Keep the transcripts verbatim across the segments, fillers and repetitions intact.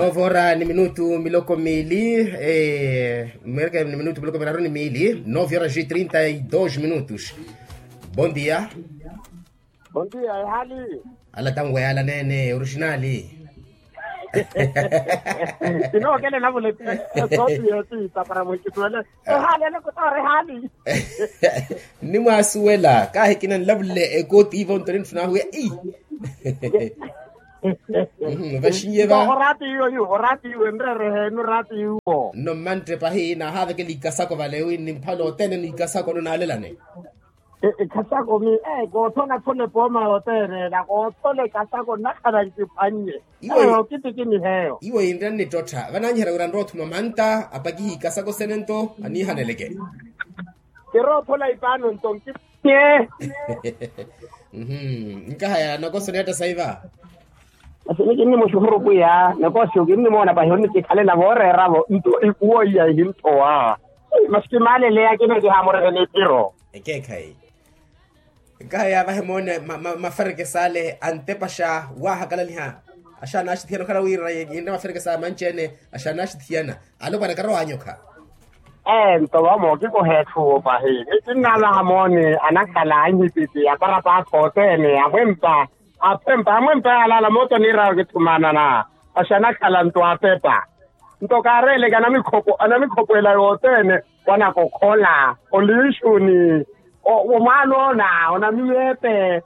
Novora ni minutu miloko miili. Mwereke ni minutu miloko miraru ni miili novora ji trinta e dos minutus. Bon dia. Bon dia ehali. Ala tanwe ala nene orijinali. Kinookele navule. Sopi yoti tapara mwekituwele. Ehali ene kutoora ehali. Nimwaasuwela kaahikina nlavule ekoti ivo ntoni nifuna ahuwe. Vaxiye va. Orati iwo iwo orati iwo enreere heenu orati iwo. Nno mmantte pahi naahaavekela ikasako vale wi ni mphale othene ni ikasako nno naalelane. Ekasako mi ee koothola khole pooma yothene ela koothola ekasako nnakhala nkiphwannye. Eyo kitiki ni heyo. Iwo yinrya nnittottha vanaanyiherya wira nrowa othuma manta apakihe ikasako sene nto aniihaneleke. Kiroophola ipaano nto nkiphwannye. Nkahaya nakoso niyatta saiva. Asi ni kinnimuxukhuru pwiya nakoso kinnimoona pahi onnikikhalela vooreeravo nto ikuwo iya ehinthowa. Masi kimaaleleya kina kihaamureke niphiro. Ekeekhayi. Nkahaya vahe moone maferekesa ale antepaxa waahakalaliha. Axaana axithiyana okhala wira yinre maferekesa manci-ene. Axaana axithiyana. Alopwana karowa anyokha. Ee nto vamo kikoha etthu pahi ni kinnavaha moone anakhala anhipiti aparapakha othene amwempa. Aphempa amwempa yaalaala moota niiraya okithumanana. Axi anakhala nto apepa. Nto kaareeleke anamikhopo anamikhopwela yothene. Wanakokhola oliixuni. Omwaanoona onamiyeepe.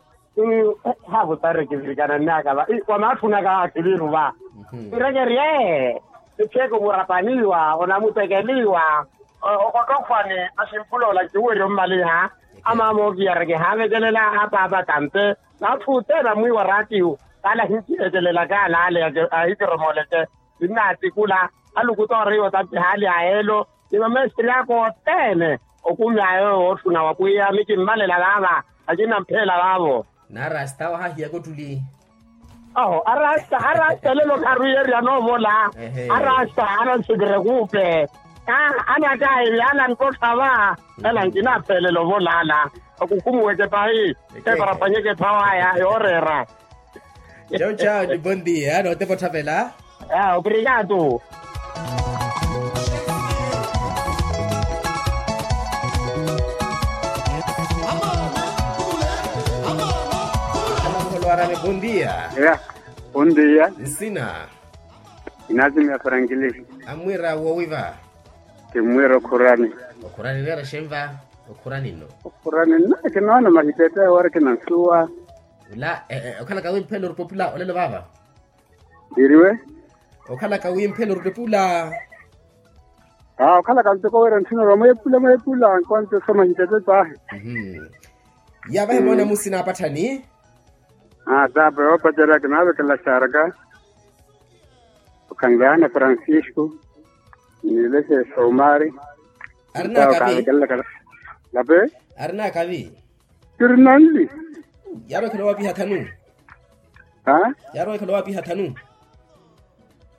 Haavutareke virikana nnaka va wamaatthunaka akiliru va. Nrekerye. Ettheeko murapaniwa onamutekeliwa. Okottofwani aximphuloola nkiwerye ommaliha. Amaama ookiyareke haavekelela apaapa tampe. N'atthu othene amwiiwa raatiyu kaala ahinkivekelelaka alaale ahikiromooleke. Kinnaatikula alukutooriwa otampiha ali ayeelo. Ni mamesitiri aka othene okumy'aya owo ootthuna wa pwiya mikimmalela vaava. Akinamphela vaavo. N'arasta wahahiyaka ottuli. Oho arasta arasta elelo kharwiyeryana ovola. Arasta anansikire kuupe. Anakairi anankottha va. Ela nkinaaphelela ovola ala. Akukhumuweke pahi. Eparapanyeke ephawa aya yooreera. Chau chau ni bon dia nootepa otthapela. Obrigado. Bon dia. Nsina? Inasimia frankili. Amwira woowiva? Kimmwira okhurani. Okhurani neera xenva? Okhurani nno. Okhurani nno kinoona mahitete wari kinansuwa. Okhalaka wimphela orupopula olelo vaava? Iriwe. Okhalaka wimphela orutepula. Aa okhalaka ntoko wira ntthuna orwa mweepula mweepula nkonto soma hintete tahi. Yaavahe moona musina apatthani. Aa tape oopacerya kinaavekelela xaaraka. Okhanleyana francisco. Niileshe somari. Arinakavi. Tape. Arinakavi. Kiri nanli. Yaarowa ekhale owaapiha thanu. Yaarowa ekhale owaapiha thanu.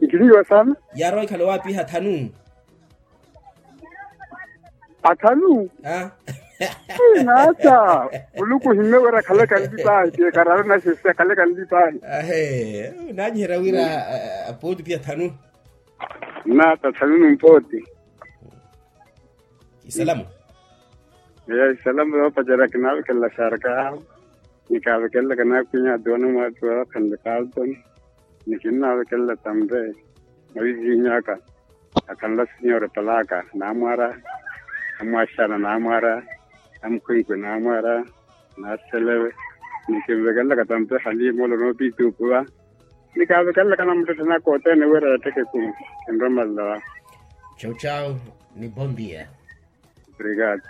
Nkiliwa saana. Yaarowa ekhale owaapiha thanu. Athanu. Naata. Muluku ohimme wira akhalaka nli pahi ti ekararu naxi si akhalaka nli pahi. Ahe. Naanyiherya wira. Apooti piya thanu. Naata thanu numpooti. Isalamu. Isalamu yoopacerya kinaavekelela xaaraka yaahu. Ni kaavekelela kanaakhwinya atuwana mwaattu waakhanle kalton. Ni kinnaavekelela tampe. Mwavivihinyaka akhanla sinyore palaka naamwara. Amwaxana naamwara. Amukhwenkwe naamwara. Naaselewe. Ni kinvekelela katampe halimo olono piituupuwa. Ni kaavekelela kanamuttetthena koothene wira yeetteke kumi. Kinromalela wa. Chau chau. Ni bon dia. Obrigado.